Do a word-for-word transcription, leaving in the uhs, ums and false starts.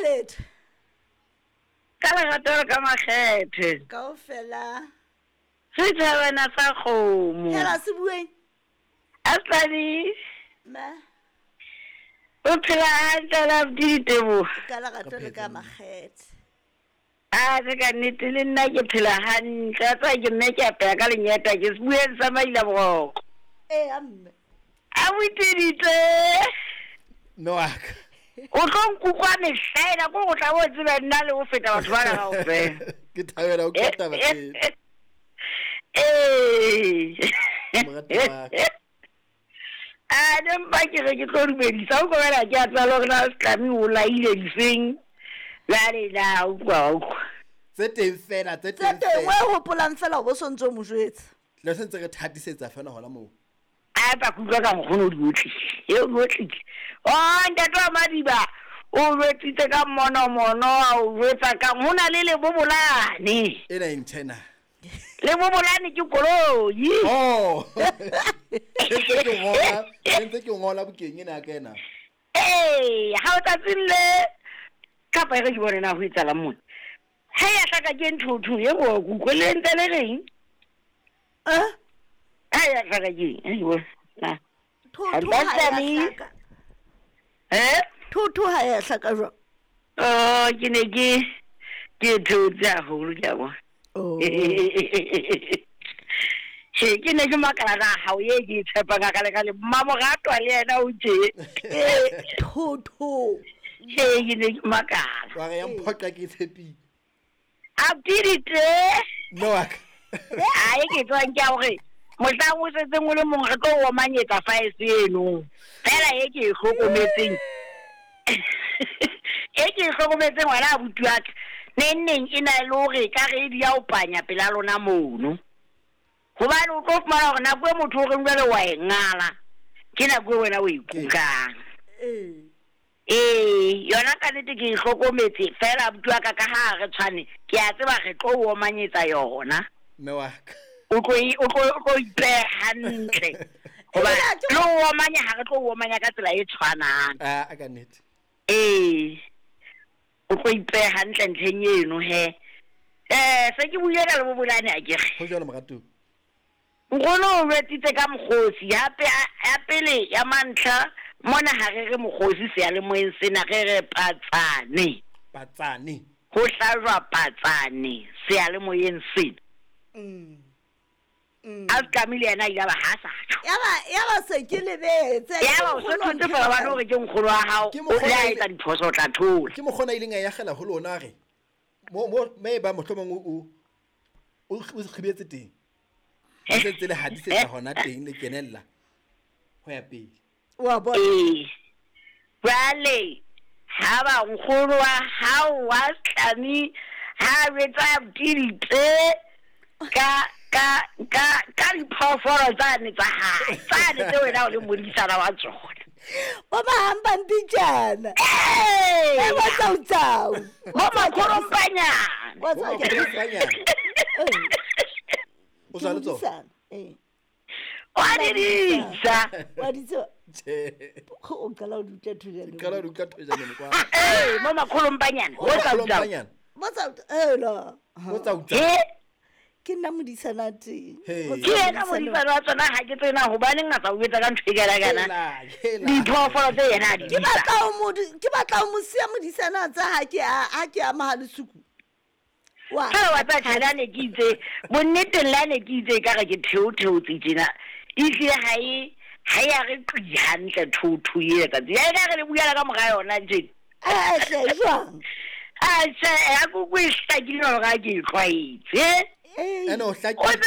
letho. Ka lerato le ka makgethe. Kaofela. Setjhabana sa kgomo. Hela se bueng. Aslani. Ma. O phela hantle la Diteboho. Ka lerato le ka makgethe. A se ka nnete le nna ke phela hantle. A tswa ke mme ke apeya ka lenyeta ke se bueng sa maila boroko. Eh amme. A boiteditse. Mme wa ka. O tlo nkutlwa mehlaena ko go tla bo tseba nna le go feta batho bana kaofela. Ke thabela ho utlwa taba tsena. Ee. Morati wa ka. A ne mpa ke re ke tlo dumedisa o kobela ke a tseba le hore na Setlami o laile difeng. Jwale na utlwa wa utlwa. Tse teng fela, tse Tse teng teng fela. o hopolang fela o bo sontso mo jwetsa. Le se ntse re thatisetsa fela hona moo. A pa kutlwa ka nkgono o di otlile. E o di otlile. Oh, ntate wa Madiba, o jwetsitse ka monomono, a o jwetsa ka ho na le lebobolane. Ena e ntjhena. Lebobolane ke koloi. Oh. Ntse ke ngola, ntse ke ngola bukeng ena ya ka ena. Ee, ha o tsatsing le kapa e re ke bone na ho etsahalang mona. Ha ya hlaka ke nthotho e go kutlwe le ntse le reng? Eh? Ha ya hlaka ke eng? E ke bone. Na. Thotho ha ya hlaka. Eh? Thotho ha ya hlaka jwang? Oh, ke ne ke ke theotse haholo ke a bona. Oh. Che, ke ne ke makala na hao e ke e tshepang ka le ka le mmamoratwa le yena o tje. Eh, thotho. Che, ke ne ke makala. Wa re ya mphoqa ke tshepile. A pidite. Mme wa ka. Ai ke tswang ke a hore mohlang o setseng o le mong re tlo o omanyetsa faese eno. Fela e ke e hlokometseng. E ke e hlokometseng wena abuti wa ka. Neng neng e na le hore ka re di ya o panya pela lona mono. Hobane o tlo fumana hore nako e motho o reng jwale wa e ngala. Ke nako e wena o e kukang. Eh. Ee, yona ka nnete ke e hlokometse fela abuti wa ka ka ha re tshwane, ke a tseba re tlo o omanyetsa yona. Mme wa ka. O tlo e- o tlo o tlo ipeha hantle. Hoba Ebile ha ke le ho omanya ha re tlo o omanya ka tsela e tshwanang. Ah, ka nnete. Ee. O tlo ipeha hantle ntlheng eno he. Eh, se ke buile ka lebobolane akere. Ho jwalo moratuwa. Nkgono o jwetsitse ka mokgosi ya pe ya pele ya mantlha mona ha re re mokgosi seyalemoyeng sena re re patsane. Patsane. Ho hlajwa patsane seyalemoyeng sena. Mm. Mm. A Setlami le yena a ile a ba ha sa tjho. Ya ba ya ba se ke lebetse. Ya ba o se thotse fela ba hore ke nkgono wa hao. Ke O mokgwa le a o ile- etsa diphoso o tla thola. Ke mokgona a ileng a yakgela ho lona a re mo mo me ba mohlomong o o o kgibetse teng. Le se ntse le hadisetsa hona teng le kenella ho ya pele. Wa bona. Ee. Jwale ha ba nkgono wa hao wa Setlami ha jwetsa ditse ka ka ka ka diphoofolo tsane tsa hae tsane tse wena o le modisana wa tsona. Bo mahampantijana. Ee. Eh, bo tsautsau. Bo makhorompanyana. Wa Bo tsau- makhorompanyana. Eh. O sa le tsona? Modisana. Eh. Wa di disa. Wa di tseba. Tjhe. O qala ho di utlwa thojana. Qala ho di utlwa thojana kwa. Ee, mo makhorompanyana. Bo Bo tsautsau. makhorompanyana. Bo tsau- eh la. Bo tsautsau. He? Ke nna modisana teng. He. Bo Ke yena modisana wa tsona ha ke tsena hobaneng a sa o etsa ka ntho e kana kana. Hela, hela. Diphoofolo tse yena a di Ke disa. batla ho mo di-, ke batla ho mo siya modisana tsa ha ke a, ha ke a Mohalesuku. Wa. Fela wa tseba tjhe, la ne ke itse, bonneteng la ne ke itse ekare ke theotheotse tjena. Ehlile ha e, ha e a re qi hantle thotho e ka tsela. Ya ekare le buela ka mora yona tje. Eh, hle, jwang? A tjhe, ha ke utlwe e hlakile hore ha ke e tlwaetse. Eh. Ene o hlakile. O tsebe